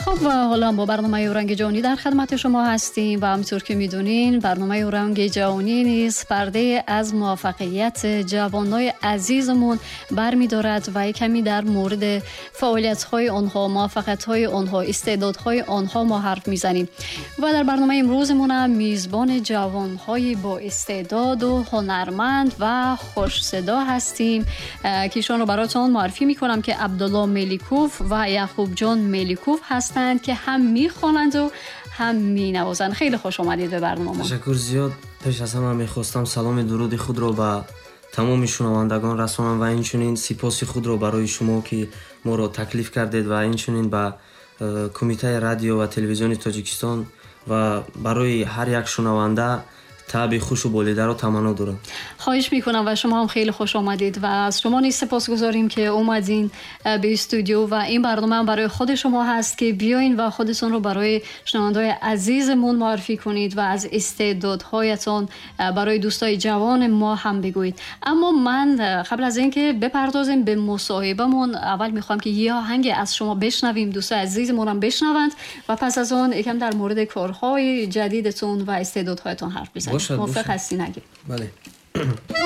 خب و حالا با برنامه اورنگ جهانی در خدمت شما هستیم و همینطور که میدونین برنامه اورنگ جهانی نیز پرده از موفقیت جوانای عزیزمون برمیدارد و کمی در مورد فعالیت های آنها، موفقیت های آنها، استعدادهای آنها ما حرف میزنیم و در برنامه امروزمون هم میزبان جوانهای با استعداد و هنرمند و خوش صدا هستیم که ایشان رو براتون معرفی میکنم که عبدالله ملیکوف و یعقوب جان ملیکوف هستند که هم میخوانند و هم مینوازند. خیلی خوش آمدید به برنامه. Ташаккур зиёд. Пеш аз ҳама мехостам саломи дуруди худро ба тамоми шунавандагон расонам ва инчунин сипоси худро барои шумо, ки моро таклиф кардед, ва инчунин ба Кумитаи радио ва телевизиони Тоҷикистон ва барои ҳар як шунаванда табъи хушу болидаро таманно дорам. خواهش میکنم و شما هم خیلی خوش آمدید و از شما نیز سپاسگزاریم که اومدین به استودیو و این برنامه هم برای خود شما هست که بیاین و خودتون رو برای شنونده‌های عزیزمون معرفی کنید و از استعدادهایتون برای دوستای جوان ما هم بگویید. اما من قبل از اینکه بپردازیم به مصاحبهمون، اول میخوام که یه آهنگ از شما بشنویم، دوستای عزیزمون هم بشنوند و پس از اون یکم در مورد کارهای جدیدتون و استعدادهایتون حرف بزنیم. باشد. موافق باشد. هستی نگه؟ Бале.